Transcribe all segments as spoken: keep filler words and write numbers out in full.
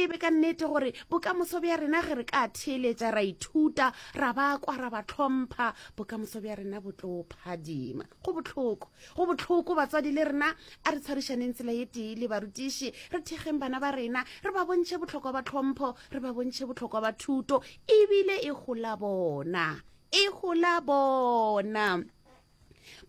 tsebe ka nnete gore bokamoso bja rena ge re ka theeletša ra ithuta ra ba kwa ra ba tlhompha bokamoso bja rena bo tlo phadima go bohloko go bohloko batswadi le rena a re tshwarišaneng tsela ye tee le barutiši re thekgeng bana ba rena re ba bontšhe bohlokwa ba tlhompho re ba bontšhe bohlokwa ba thuto ebile e gola bona e gola bona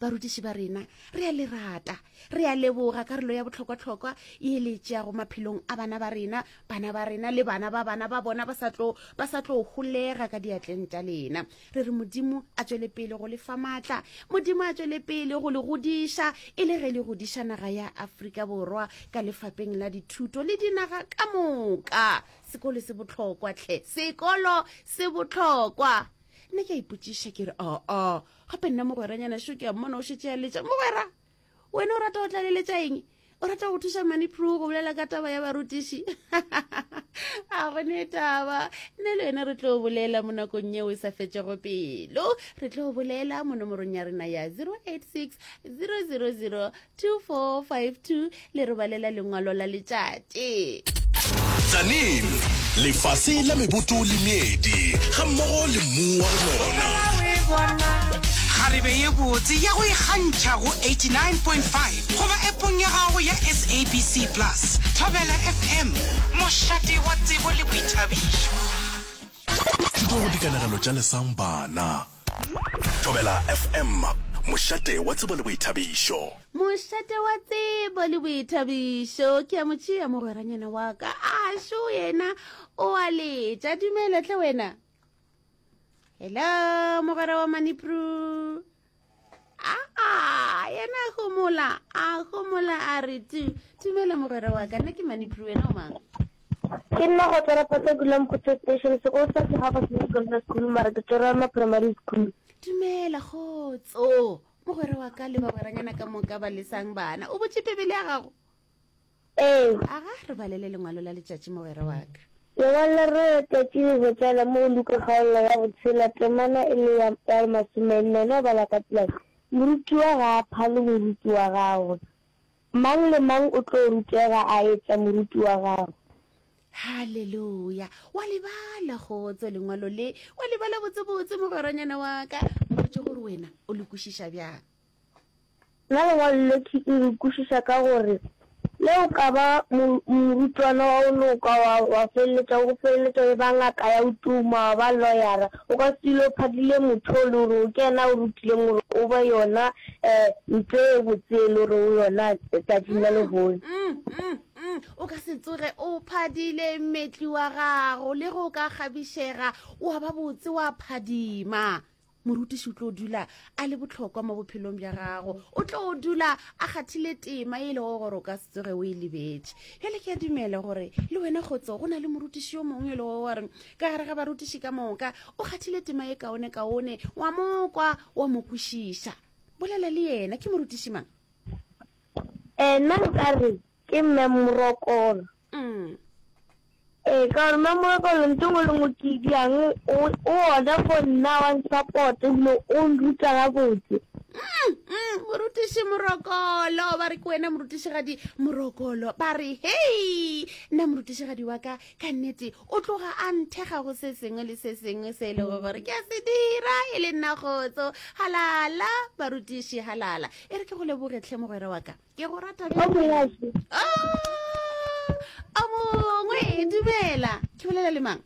barutiši ba rena re a le rata re a leboga karolo ya bohlokwahlokwa e le tšeago maphelong a bana ba rena bana ba rena le bana ba bana ba bona ba sa tlo ba sa tlo holega ka diatleng tša lena re re modimo a tšwele pele go le fa maatla modimo a tšwele pele go le godiša e le ge le godiša naga ya Afrika Borwa ka lefapeng la dithuto le dinaga ka moka sekolo se bohlokwa hle sekolo se bohlokwa nna ke a ipotšiša ke re aa gape nna mogweranyana šo ke a mmona o šetše a letša mogwera wena o rata go tlaleletša eng o rata go thuša manipro go bolela ka taba ya barutiši a gone taba nne le wena re tlo bolela mo nakong yeo e sa fetšego pelo re tlo bolela mo nomorong ya rena ya zero eight six zero zero zero two four five two le re balela lengwalo la letšatši Tzaneen, lefase la meboto le meedi, gammogo le mmu wa go nona. Kgarebe ye botse ya go ikgantšha go eighty-nine point five goba appong ya gago ya S A B C Plus. Thobela F M, mošate wa tsebo le boithabišo. Thuto go dikanegelo tša Lesang Bana. Thobela F M, mošate wa tsebo le boithabišo. Mošate wa tsebo le boithabišo. Ke a mo tšea mogweranyana wa ka. A šo yena o a letša. Dumela tle wena. Hello, mogwera wa Manipro. Ah, yena a homola, a homola a re tu. Dumela mogwera wa ka, nna ke Manipro, wena o mang? Ke nna go tswa Rapata ke dula Mokgotse Station, sekolo sa ke gago se Secondary School, mara ke tswa ma Primary School. Dumela kgotso, mogwera wa ka le bagweranyana ka moka ba lesang bana. O botše Bibele ya gago? Ee. Aga, re balele lengwalo la letšatši mogwera wa ka. Lengwalo la rena la letšatši le hwetšagala mo go Luka kgaolo ya botshela temana e le ya, ya masomenne. No bala ka tsela ye, Morutiwa ga a phale moruti wa gagwe. Mang le mang o tlo rutega a etša moruti wa gagwe. Haleluya! Wa le bala, kgotso, lengwalo le. Wa le bala botsebotse, mogweranyana wa ka. Mpotše gore wena o le kwešiša bjang. Nna lengwalo le ke le kwešiša ka gore le o ka ba morutwana wa go loka wa, wa feleletša o feleletša o eba ngaka ya go tuma, wa ba loyara, o ka se dule o phadile motho o le gore ke yena a o rutileng gore o be yona um ntho e botse e le gore o yona letšatšing la lehono. Mm, mm, mm. O ka se tsoge o phadile mmetli wa gago, le ge o ka kgabišega wa ba botse wa phadima. Morutiši o tlo dula a le bohlokwa mo bophelong bja gago, o tlo dula a kgathile tema e lego gore o ka se tsoge o e lebetše. Bjale ke a dumela gore le wena kgotso go na le morutiši yo mongwe e lego gore ka gare ga barutiši ka moka o kgathile tema e kaone kaone, wa mo kwa wa mo kwešiša. Bolela le yena, ke morutiši mang? Eh, nna nka re ke Mme Morokolo. Mm. Ee, ka gore Mme Morokolo ntho engwe le engwe ke e dirang o, o gona for nna wa nsupport ebile o nruta gabotse. Mm, mm, morutiši Morokolo, ba re ke wena morutišigadi Morokolo, ba re hei, nna morutišigadi wa ka ka nnete o tloga a nthekga go se sengwe le se sengwe se e lego gore ke a se dira e le nna kgotso. Halala barutiši, halala. E re ke go leboge tlhe mogwera wa ka. Ke go rata bjang. O mongwe, dumela. Ke bolela le mang?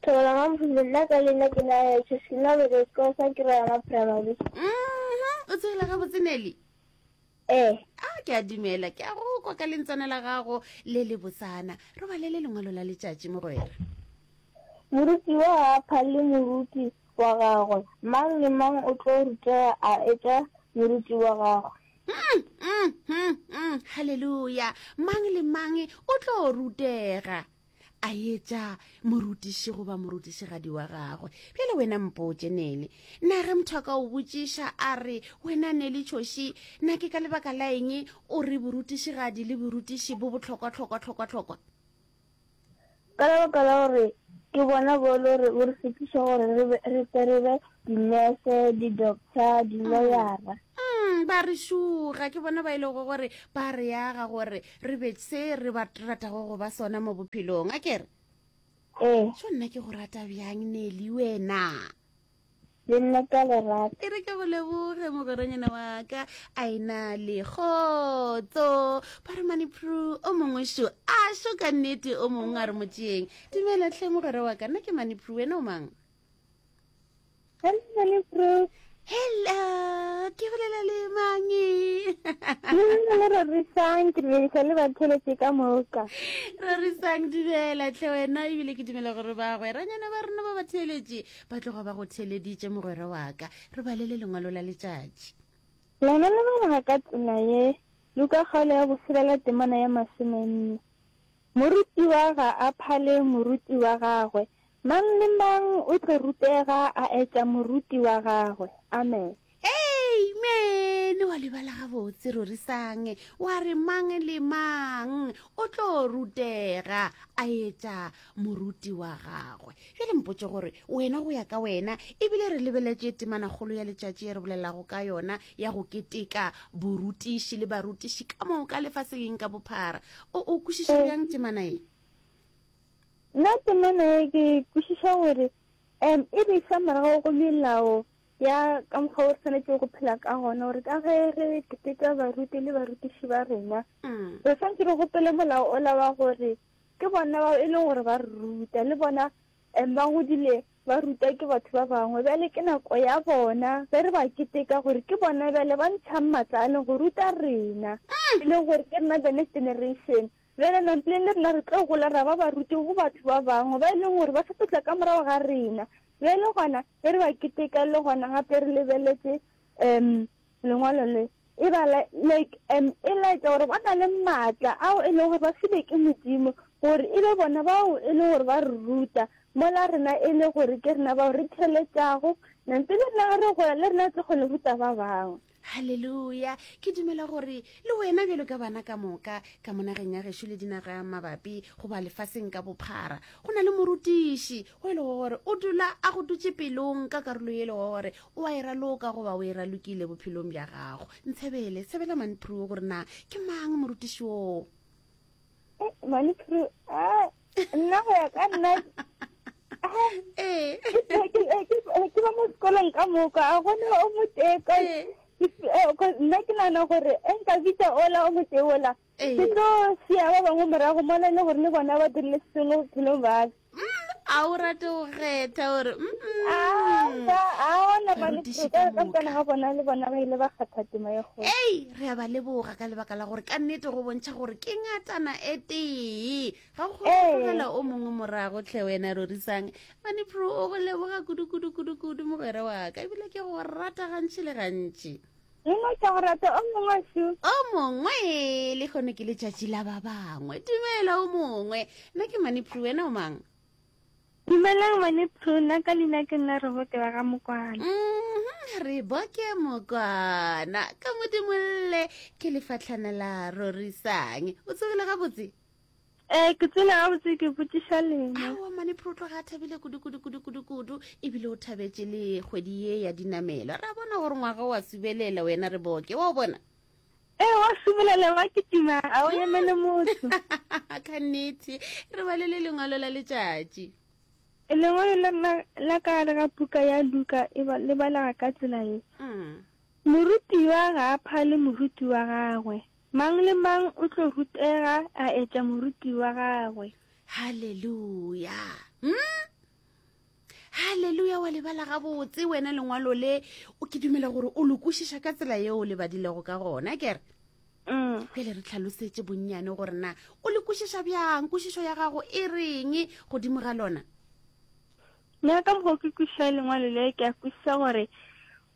Thobela Mamphule, nna ka leina ke na Chesina Bebe, sekolo sa ke Rayana Primary. Mhm, o tsogile gabotse Nelly? Ee. A ke a dumela, ke a go kwa ka lentswana la gago le le botsana. Re balele lengwalo la letšatši mogwera. Morutiwa ga a phale moruti wa gagwe, mang le mang o tlo rutega a etša moruti wa gagwe. Mm, mm, mm, mm, haleluya. Mang le mang o tlo rutega a etša morutiši goba morutišigadi wa gagwe. Bjale wena mpotše Nele, na ge motho a ka o botšiša a re wena Nele Tšhoši, na ke ka lebaka la eng o re borutišigadi le borutiši bo bohlokwa hlokwa hlokwa hlokwa? Ka lebaka la gore ke bona bo le gore bo re fetiša gore re be, re tle re be dinese, di-doctor, di-lawyera. Mm, Ba re šuga, ke bona ba e lego gore ba re aga gore re be se re ba ratago go ba sona mo bophelong. A kere? Ee. Šo nna ke go rata bjang, Nelly, wena? Le nna ka le rata. E re ke go leboge, mogweranyana wa ka. A e na le kgotso. Ba re mane Pru, o mongwe šo. A šo ka nnete o mongwe a re mo tšeeng. Dumela hle mogwera wa ka, nna ke mane Pru, wena o mang? Hello, mane Pru. Hello, ke bolela le mang? Le le Rorisang, ke dumedisa le batheletše ka moka. Rorisang, dumela hle wena, ebile ke dumela gore bagweranyana ba rena ba batheeletše ba tloga ba go theeleditše mogwera wa ka. Re balele lengwalo la letšatši. Lona le balega ka tsela ye, Luka kgaolo ya boselela temana ya masomenne. Morutiwa ga a phale moruti wa gagwe, mang le mang o tlo rutega a etša moruti wa gagwe. Amen. Amen. Wa lebala gabotse Rorisang, wa re mang le mang o tlo rutega a etša moruti wa gagwe. Bjale mpotše gore wena go ya ka wena, ebile re lebeletše temanakgolo ya letšatši ye re bolelago ka yona ya go keteka borutiši le barutiši ka moka lefaseng ka bophara. O, o kwešiša bjang temana ye? Nna temana ye ke kwešiša gore, um, e re iša morago go melao ya ka mokgwa o re swanetše go phela ka gona, gore ka ge re keteka baruti le barutiši ba rena, Mm. re swanetše re gopole molao ola wa gore ke bona bao e leng gore ba re ruta, le bona, um, ba godile ba ruta ke batho ba bangwe. Bjale ke nako ya bona ge re ba keteka gore ke bona bjale ba ntšhang maatla a leng go ruta rena, Mm. e leng gore ke rena the next generation. Bjale nampileng le rena re tlo gola ra ba baruti go batho ba bangwe ba e leng gore ba sa tlo tla ka morago ga rena. Bjale gona ge re ba keteka le gona gape re lebeletše, um, lengwalo le, e ba la-, like, um, e laetša gore ba na le maatla ao e leng gore ba filwe ke Modimo gore e be bona bao e leng gore ba re ruta, mola rena e le gore ke rena bao re theeletšago, nampe le rena ge re gola le rena re tlo kgona go ruta ba bangwe. Halleluja. Ke dumela gore le wena bjalo ka bana ka moka ka mo nageng ya gešo le dinaga mabapi goba lefaseng ka bophara, go na le morutiši o e lego gore o dula a go dutše pelong ka karolo e lego gore o a e raloka goba o e ralokile bophelong bja gago. Ntshebele, tshebela Manpru gore na ke mang morutiši oo? Eh, Manpru, ah, nna go ya ka nna, Eh. ke, ke, ke, ke ba mo sekolong ka moka, a gona o motee ka Eh. nna ke nagana gore e nka bitsa ola o motee ola, Eh. ke tlo sia ba bangwe morago mola e le gore le bona ba dirile se sengwe bophelong ba ka. Mm, a o rate go kgetha gore, mm, Ah, a ona ba le Barutiši ka ka ka moka. tsena ga bona le bona ba ile ba kgatha tema ye kgolo. Ei, re a ba leboga ka lebaka la gore ka nnete go bontšha gore ke ngatana e tee. Ga go kgone go Ee. tlogela o mongwe morago tlhe wena Rorisang. Manipro o go leboga kudu kudu kudu kudu mogwera wa ka, ebile ke go rata gantši le gantši. Nna ke go rata o mongwe šo. O mongwe le kgone ke letšatši la ba bangwe. Dumela o mongwe. Nna ke Manipro, wena o mang? Dumelang Manipro, nna ka leina ke nna Reboke wa ga Mokwana. Mm-hmm, Reboke Mokwana. Ka Modimolle ke lefatlhana la Rorisang. O tsogile gabotse? Eh, ke tsogile gabotse, ke botšiša lena. Aowa Manipro o tloga a thabile kudu kudu kudu kudu kudu, ebile o thabetše le kgwedi ye ya dinamelo. Ra bona gore ngwaga o a subelela wena Reboke, wa o bona? Eh, wa subelela wa kitima, a o emele motho. Ka nnete, re balele lengwalo la letšatši. Lengwalo la nna la ka gare ga buka ya Luka e ba, le balega ka tsela ye. Mm. Morutiwa ga a phale moruti wa gagwe. Mang le mang o tlo rutega a etša moruti wa gagwe. Halleluja. Mm? Halleluja, wa lebala gabotse wena lengwalo le, o ke dumela gore o le kwešiša ka tsela yeo o le badilego ka gona, ke re? Mm. Bjale re tlhalosetše bonnyane gore na o le kwešiša bjang, kwešišo ya gago e reng godimo ga lona? Nna ka mokgwa ke kwešiša lengwalo le, ke a kwešiša gore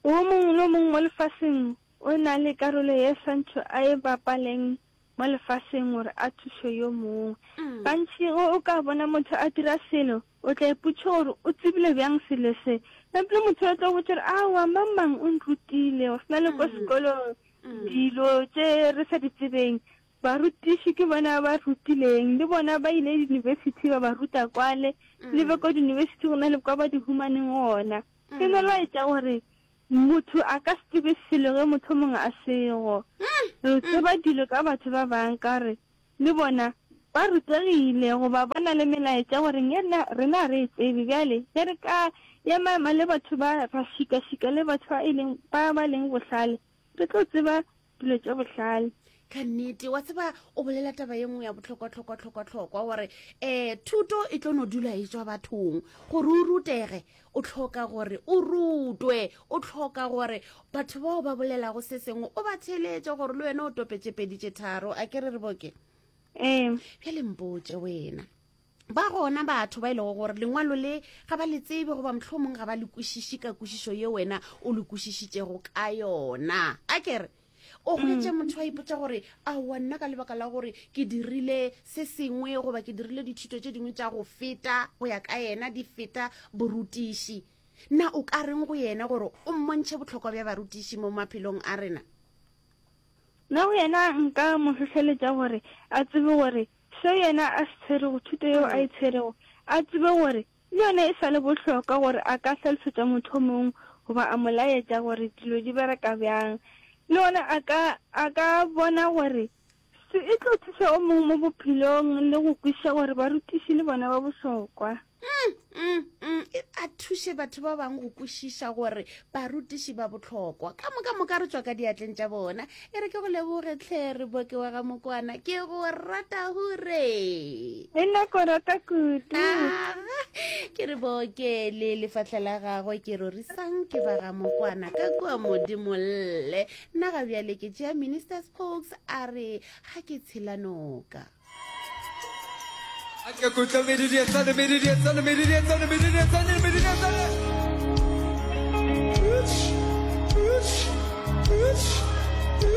o mongwe le o mongwe mo lefaseng o na le karolo ye swantšho a e bapaleng mo lefaseng gore a thuše yo mongwe. Mm. Gantši ge o ka bona motho a dira selo, o tla ipotša gore o tsebile bjang selo se. Ebile motho o tla go botša gore, aowa, mang mang o nrutile, go swana le ko Mm. sekolong, Mm. dilo tše re sa di tsebeng, barutiši ke bona ba rutileng, le bona ba ile university ba ba ruta kwale, le be Mm. ko university go na le kwa ba di humaneng gona. Ke no Mm. laetša gore Motho a ka se tsebe selo ge motho o mongwe a sego. Re tseba dilo ka batho ba bang ka gore le bona ba rutegile goba ba na le melaetša gore rena rena ga re e tsebe. Bjale ge re ka ema-ema le batho ba, ra šika-šika le batho ba e leng ba ba leng bohlale, re tlo tseba dilo tše bohlale. Ka nnete, wa tseba, o bolela taba ye nngwe ya bohlokwa-hlokwa-hlokwa-hlokwa, gore um thuto e tlo no dula e tšwa bathong. Gore o rutege, o hloka gore o rutwe, o hloka gore batho bao ba bolelago se sengwe o ba theeletše, gore le wena o tope tše pedi tše tharo. A ke re re boke? Ee. Bjale mpotše wena, ba gona batho ba e lego gore lengwalo le ga ba le tsebe, goba mohlomong ga ba le kwešiše ka kwešišo ye wena o le kwešišitšego ka yona. A ke re o hwetše motho a ipotša gore aowa, nna ka lebaka la gore ke dirile se sengwe goba ke dirile dithuto tše dingwe tša go feta go ya ka yena di feta borutiši. Na o ka reng go yena gore o mmontšhe bohlokwa bja barutiši mo maphelong a rena? Nna go yena nka mo hlohleletša gore a tsebe gore seo yena a se tshwerego, thuto yeo a e tshwerego, a tsebe gore le yona e sa le bohlokwa gore a ka hlalosetša motho o mongwe goba a mo laetša gore dilo di bereka bjang. Le gona a ka, a ka bona gore se e tlo thuša o mongwe mo bophelong le go kwešiša gore barutiši le bona ba bohlokwa. Mm, mm, mm. E, a thuše batho ba bangwe go kwešiša gore barutiši ba bohlokwa. Ka moka moka re tšwa ka diatleng tša bona. E re ke go leboge tlhe, re boke wa ga Mokwana. Ke go rata hure. Le nna ko rata kudu. Aga, ke re boke le lefahla la gagwe ke rorisang ke ba ga Mokwana ka kua Modimolle. Nna ga bjale ke tšea Minister Spokes a re ga ke tshela noka. A ke kutla medidietsane, medidietsane, medidietsane, medidietsane, medidietsane. Itch, itch, itch.